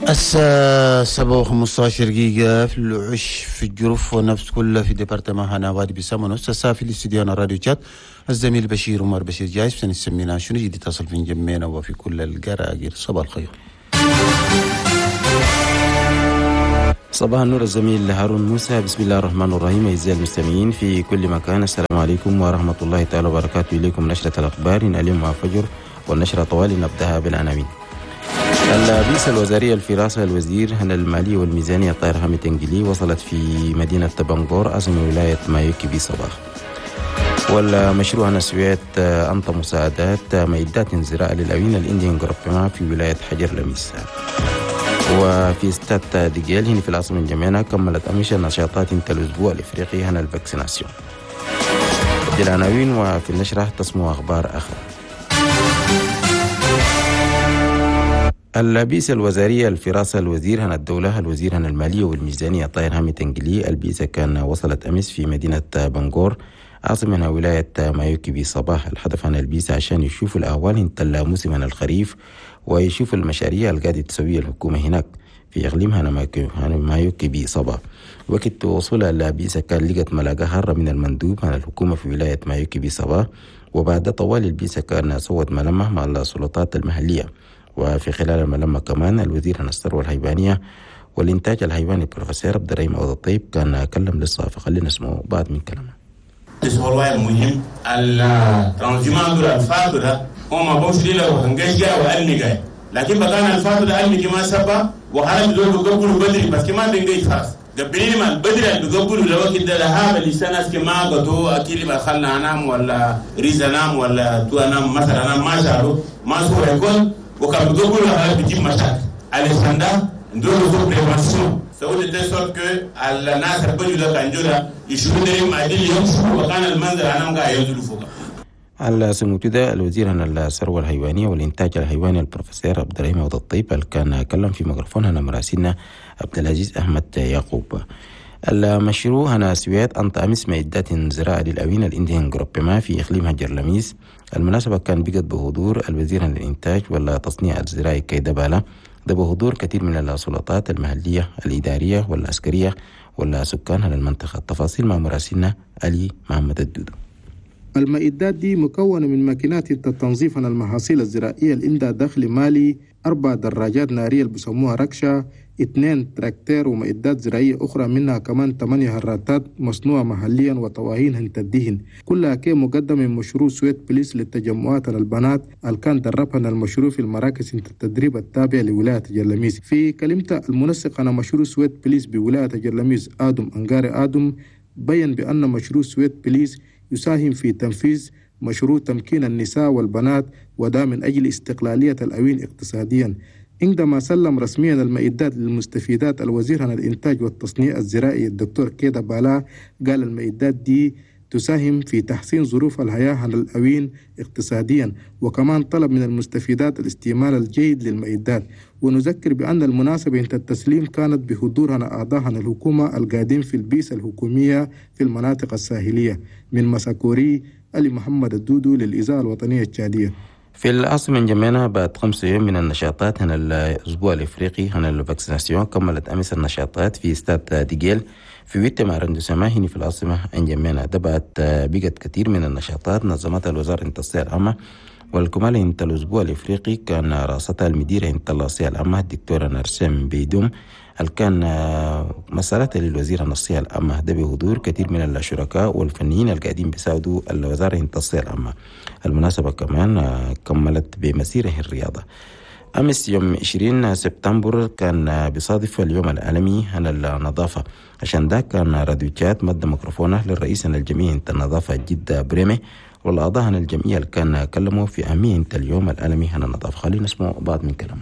الساعة 7:15 في العش في الجرف ونفس كله في département هنا وادي بسام ونفس الساعة في الاستديو راديو تشاد الزميل بشير عمر بشير جايز سنسمينا شنو جديد تصل في جمينا وفي كل القراقير. صباح الخير. صباح النور الزميل هارون موسى. بسم الله الرحمن الرحيم. أعزائي المستمعين في كل مكان، السلام عليكم ورحمة الله تعالى وبركاته. إليكم نشرة الأخبار اليوم مع فجر، والنشرة طوال نبدأها بالعناوين. البعثة الوزارية في رأسها الوزير هنا المالية والميزانية الطاهر حامد تنجلي وصلت في مدينة بنغور عاصمة ولاية مايوكي بصباح. والمشروع هنا سويت أنطى مساعدات معدات زراعة للأوين الإنديان جروبما في ولاية حجر لميس. وفي استاد ديجيل هنا في العاصمة الجميعة كملت أمس نشاطات الأسبوع الإفريقي هنا ال vaccination. دي العناوين، وفي النشرة تسمو أخبار أخرى. البعثة الوزارية الفراسة الوزير هنا الدولة الوزير هنا المالية والميزانية طاهر حامد تنجلي البعثة كان وصلت أمس في مدينة بنغور عاصمة ولاية مايوكي بصباح. الهدف عن البعثة عشان يشوفوا الأهوال انت موسم الخريف ويشوفوا المشاريع اللي قاعدة تسويها الحكومة هناك في إقليم هنا مايوكي بصباح. وقت وصول البعثة كان لقت ملاقة هارة من المندوب عن الحكومة في ولاية مايوكي بصباح، وبعد طوال البعثة كان سوت ملمة مع السلطات المحلية. وفي خلال الملمة كمان الوزير عن الثروة الحيوانية والإنتاج الحيواني البروفيسور عبد الرحيم عوض الطيب كان كلم للصحافة. خلينا نسمع بعض من كلامه. هو مهم ال transhumance دول الفاتو ده هم بوش ليلة وهنجي وقال لكن بقانا الفاتو ده قال ما سبا وخرج دول بقبلوا بدري بس كمان بنجي خلاص قبلين ما بدري اللي بقبلوا لو كده لها اللي سنة كما قطو أكيد ما خلنا أنام ولا ريز أنام ولا تو أنام مثلا أنام ما شالوا ما سوى يكون وكان بيقولوا هذا بيجيب مشاكل على السنة ندور فوق prévention سووا de sorte que الناس البجوا ده كان يشوفوا ده ما دي يمشوا وكان المنظر انا قاعد ينزلوا فوق. على سموتو ده الوزير عن الثروة الحيوانية والإنتاج الحيواني البروفيسور عبد الرحيم عوض الطيب اللي كان كلم في ميكروفون هنا مراسلنا عبد العزيز أحمد يعقوب. المشروع هنا سويات أنت أمس معدات زراعة للأوين الإنديان جروبما في إقليم هجر لميس. المناسبة كان بقت بحضور الوزير عن الإنتاج والتصنيع الزراعي كيدا بالا، ده بحضور كثير من السلطات المحلية الإدارية والعسكرية والسكان على المنطقة. التفاصيل مع مراسلنا علي محمد الدودو. المعدات دي مكونة من ماكينات التنظيف عن المحاصيل الزراعية اللي عندها دخل مالي، 4 دراجات نارية اللي بيسموها ركشة، 2 تراكتير ومعدات زراعية أخرى، منها كمان 8 هراتات مصنوعة محليا وطواهين هنتدهن، كلها كي مقدم من مشروع سويت بليس للتجمعات البنات اللي كان دربها المشروع في المراكز التدريب التابع لولاية جرلميس. في كلمته المنسق على مشروع سويت بليس بولاية جرلميس آدم أنغاري آدم بيّن بأن مشروع سويت بليس يساهم في تنفيذ مشروع تمكين النساء والبنات وده من أجل استقلالية الأوين اقتصاديا. عندما سلم رسميا المعدات للمستفيدات الوزير عن الإنتاج والتصنيع الزراعي الدكتور كيدا بالا قال المعدات دي تساهم في تحسين ظروف الحياة عن الأوين اقتصاديا، وكمان طلب من المستفيدات الاستعمال الجيد للمعدات. ونذكر بأن المناسبة عند التسليم كانت بحضور أعضاء الحكومة القادم في البيئة الحكومية في المناطق الساحلية. من مساكوري علي محمد الدودو للإذاعة الوطنية التشادية. في العاصمة جميعنا بعد 5 يوم من النشاطات هنا الأسبوع الإفريقي هنا ال vaccination كملت أمس النشاطات في استاد ديجيل في ويت arrondissement هنا في العاصمة انجمينا. ده بعد بقت كثير من النشاطات نظمتها الوزارة الصحة العامة، والكمال انت الأسبوع الإفريقي كان راستها المديرة انت الصحة العامة الدكتورة نرسم بيدوم اللي كان مسألة للوزير الصحة العامة، ده بحضور كثير من الشركاء والفنيين القاعدين بيساعدوا الوزارة الصحة العامة. المناسبة كمان كملت بمسيره الرياضة. أمس يوم 20 سبتمبر كان بيصادف اليوم العالمي عن النظافة، عشان ده كان راديو تشاد مد ميكروفونه للرئيس عن الجمعية النظافة جدة بريمي والأعضاء عن الجمعية اللي كان كلموا في أهمية اليوم العالمي عن النظافة. خلينا نسمع بعض من كلامه.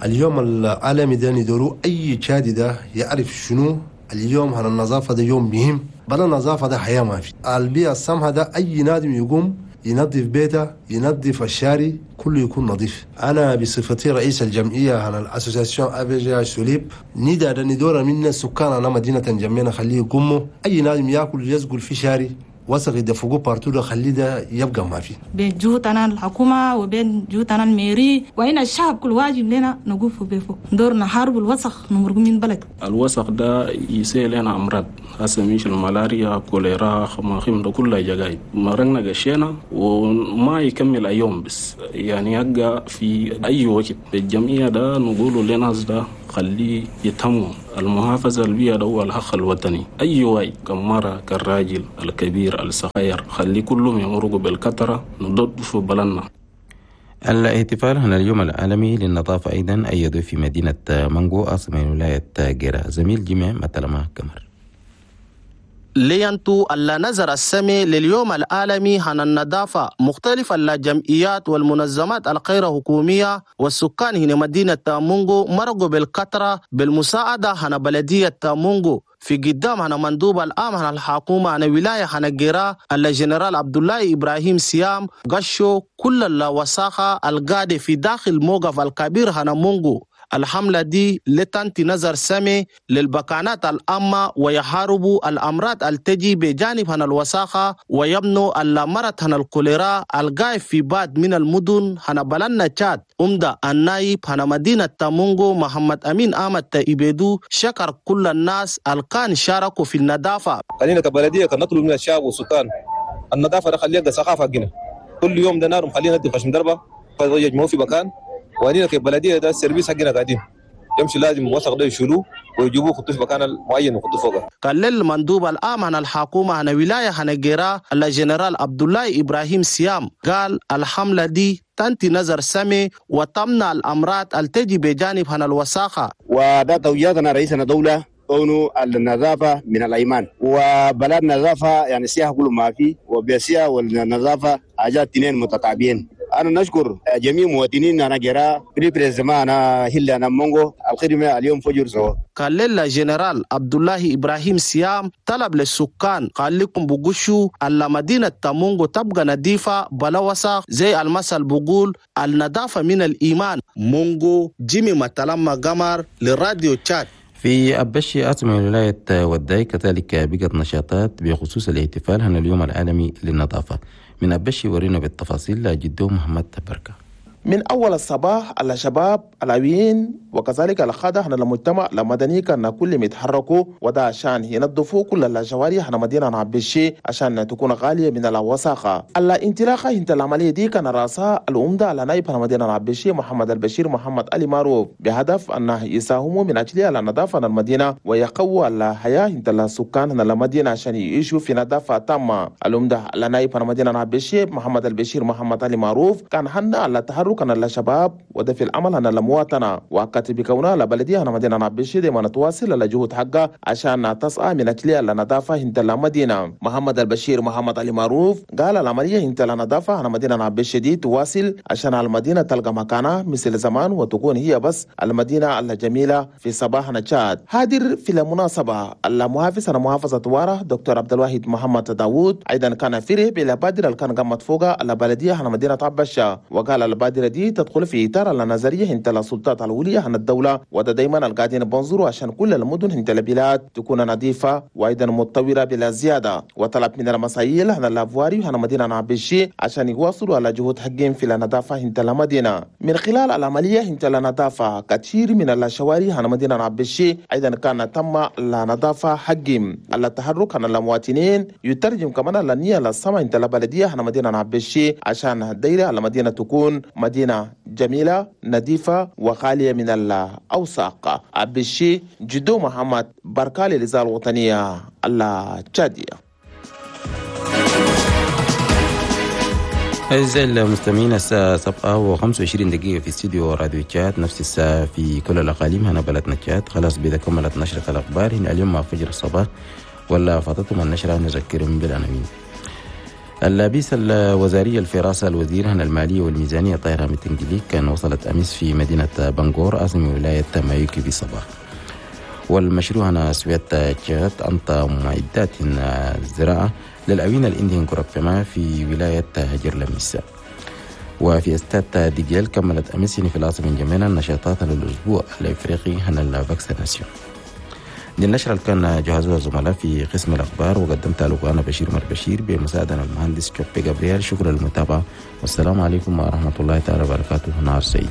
اليوم العالمي ده ندورو أي تشادي ده يعرف شنو اليوم عن النظافة، ده يوم مهم، بل النظافة ده حياة ما في. البيئة السمحة ده أي نادم يقوم ينظف بيته، ينظف الشارع، كله يكون نظيف. أنا بصفتي رئيس الجمعية عن ال association AVG سوليب ندى ده ندور منا السكان أنا مدينة جميعنا خليه يقوموا أي نادم ياكل يسقل في شارع وسخ يدفقوه partout ده خليه ده يبقى ما فيه. بين جهودنا الحكومة وبين جهودنا ال mairie وهنا الشعب كل واجب لنا نقف بفوق دور نحارب الوسخ نمرق من بلد. الوسخ ده يسيل لنا أمراض هسه مش الملاريا كوليرا خماخيم ده كله جاي مرقنا قشينا وما يكمل أيوم بس يعني يبقى في أي وقت الجمعية ده نقوله لناس ده خليه يتموا المحافظة البيئة ده هو الحق الوطني. أي واي كمرة كالراجل الكبير الصغير خلي كلهم يمرقوا بالكترة نضد في بلدنا. الاحتفال هنا اليوم العالمي للنظافة أيضا أيدوا في مدينة مانغو عاصمة ولاية جيرا. زميل جميع مثلما كمر لينتو ألا نظر السمي لليوم العالمي عن النظافة مختلف الجمعيات والمنظمات الغير حكومية والسكان هنا مدينة مونغو مرقوا بالكثرة بالمساعدة عن بلدية مونغو في قدام هنا مندوب العام هنا الحكومة هنا ولاية هنا جيرا الجنرال عبد الله إبراهيم سيام قشوا كل الوساخة القادة في داخل موقف الكبير هنا مونغو. الحملة دي لتنتي نظر سمي للبكانات العامة ويحاربوا الأمراض التجي بجانب هنا الوساخة ويبنوا المرض هنا الكوليرا الغاي في بعض من المدن هنا بلنا تشاد. أمدا النايب هنا مدينة تامونغو محمد أمين أحمد تيبيدو شكر كل الناس الكان شاركوا في النظافة. خلينا كبلدية نطلب من الشعب والسكان النظافة ده خليها ثقافة حقنا كل يوم ده نار خلينا ندي خشم دربة فيجمعوا في مكان. وهنينا كبلديه ده ال service حقنا قاعدين يمشي لازم وسخ ده يشيلوه ويجيبوه يحطوه في مكان معين ويحطوه فوقه. قال المندوب العام عن الحكومة عن ولاية هنجيرا الجنرال عبد الله ابراهيم سيام قال الحملة دي تنتي نظر سمي وتمنع الامراض التجي بجانب هنا الوساخه. وده توجيهاتنا رئيسنا دولة كونه النظافة من الايمان وبلد نظافة يعني سياحة كل ما فيه وبسياحه والنظافة حاجات اثنين متتابعين. أنا نشكر جميع مواطنين أنا جرا بريبريزما أنا هلا أنا مونغو الخدمة اليوم فجر سوا. قال الجنرال عبد الله إبراهيم سيام طلب للسكان قال لكم بقشوا أن مدينة تامونغو تبقى نظيفة بلا وسخ زي المثل بقول النظافة من الإيمان. مونغو جيمي متلما قمر للراديو تشاد. في أبشي عاصمة ولاية وداي كذلك بقت نشاطات بخصوص الاحتفال هنا اليوم العالمي للنظافة. من أبشي ورينا بالتفاصيل جدو محمد بركة. من أول الصباح الشباب العوين وكذلك القادة هنا المجتمع المدني كان كل يتحركوا وده عشان ينظفوا كل الشوارع هنا مدينة عبشي عشان تكون غالية من الوساخة. الانطلاقة انت العملية دي كان رأسها العمدة على نائب هنا مدينة عبشي محمد البشير محمد علي معروف بهدف أنه يساهموا من أجل النظافة المدينة ويقووا الحياة انت السكان هنا المدينة عشان يعيشوا في نظافة تامة. العمدة على نائب هنا مدينة عبشي محمد البشير محمد علي معروف كان حنا على تحرك كان الشباب وده في العمل أنا المواطنة وكاتب كونها لبلدية أنا مدينة عبشي دائما تواصل الجهود حقها عشان تسعى من أجل النظافة انت المدينة. محمد البشير محمد علي معروف قال العملية انت النظافة أنا مدينة عبشي دي تواصل عشان المدينة تلقى مكانها مثل زمان وتكون هي بس المدينة الجميلة في صباح نشاد. حاضر في المناسبة المحافظ أنا محافظة وارة دكتور عبد الواحد محمد داوود أيضا كان فرح بالبادرة اللي كان قامت فوقها البلدية أنا مدينة عبشة وقال البادرة دي تدخل في إطار النظرية انت السلطات العليا عن الدولة وده دايما القاعدين بنظروا عشان كل المدن انت البلاد تكون نظيفة وأيضا متطورة بلا زيادة. وطلب من المسائل عن الأفواري عن مدينة عبشي عشان يواصلوا على جهود حقهم في النظافة انت المدينة. من خلال العملية انت النظافة كثير من الشوارع عن مدينة عبشي أيضا كان تم النظافة حقهم. التحرك عن المواطنين يترجم كمان النية للسما انت البلدية عن مدينة عبشي عشان دايرة المدينة تكون مدينة جميلة نظيفة وخالية من الأوساق. عبشي جدو محمد بركالي للإذاعة الوطنية التشادية. أعزائي المستمعين الساعة 7:25 في استديو راديو تشاد، نفس الساعة في كل الأقاليم هنا بلدنا تشاد. خلاص بإذا كملت نشرة الأخبار هنا اليوم مع فجر الصباح ولا فاتتهم النشرة نذكرهم بالعناوين. اللابيس الوزارية الفراسة الوزير هنا المالية والميزانية طاهرة متنجلي كان وصلت أمس في مدينة بنغور عاصمة ولاية مايوكي في صباح. والمشروع هنا سويت تشاد أنت معدات الزراعة للأوين الإنديان كوربما في ولاية هجر لميسا. وفي استاد ديجيل كملت أمس في العاصمة جميلة النشاطات للأسبوع الإفريقي هنا ال vaccination. دي النشرة اللي كان جهزوها الزملاء في قسم الأخبار، وقدمتها لكم أنا بشير عمر بشير بمساعدة المهندس شوبي جابرييل. شكرا للمتابعة، والسلام عليكم ورحمة الله تعالى وبركاته. نهار سعيد.